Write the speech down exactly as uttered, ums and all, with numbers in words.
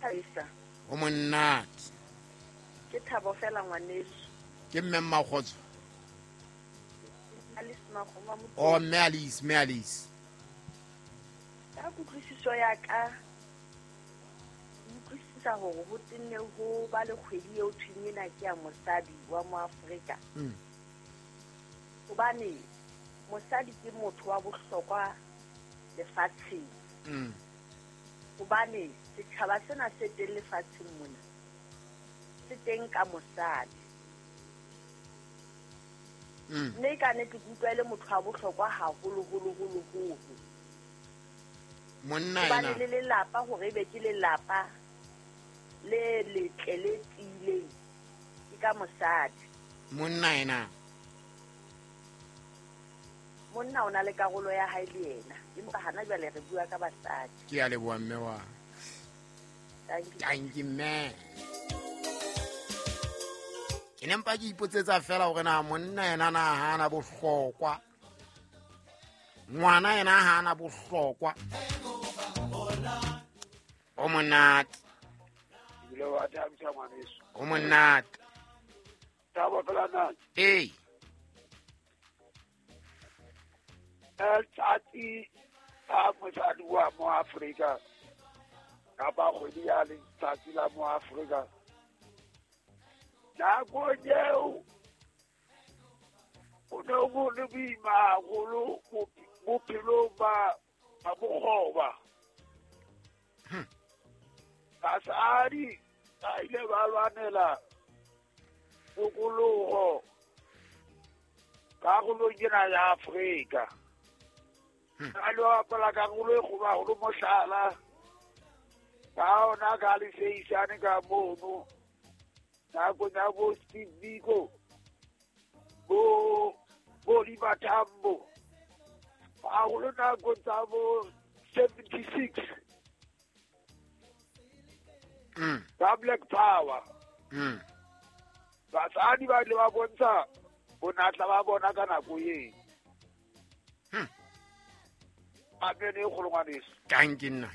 Thabisa. O monate. Ke thabo fela ngwaneso. Ke mme Mmakgotso. Alice Makgoma. Oh, mme Alice, mme Alice. Ka kutlwisiso ya ka, utlwisisa hore ho tenne ho ba le kgwedi eo thweng ena ke ya mosadi wa mo Afrika. Mm. Hobane mosadi ke motho wa bohlokwa lefatsheng. Mm. Hobane setjhaba sena se teng lefatsheng mona, se teng ka mosadi. Mm. Mme ka nnete ke utlwa e le motho wa bohlokwa haholo, holo, holo, holo. Monna Hobane yena. le lelapa hore ebe ke lelapa le letle le tiileng ke ka mosadi. Monna yena. Monna o na le karolo ya hae le yena, empa hana jwale re bua ka basadi. Ke a leboha mme wa. Thank you. Thank you, mme. Ke ne mpa ke ipotsetsa fela hore na monna yena na ha ana bohlokwa. Ngwana yena ha ana bohlokwa. O monate. Ebile wa thabisa ngwaneso. O monate. Thabo fela na. Ee. Letsatsi la mosadi wa mo Afrika kapa kgwedi ya letsatsi la mo Afrika. Nakong eo ho ne ho le boima haholo bophelong ba, ba bokgoba. Hmm. Basadi ba ile ba lwanela tokoloho karolong ena ya Afrika. Hmm. Ba ile ba bapala karolo e kgolo haholo, mohlala ka ona ka leseisane ka mono nakong ya bo Steve Biko, bo, bo Oliver Tambo, haholo nakong tsa bo seventy-six. Mm. Ka Black Power. Mm. Basadi ba ile ba bontsha bonatla ba bona ka nako eo. Hmm. Amen e kgolo ngwaneso. Thank you, nna.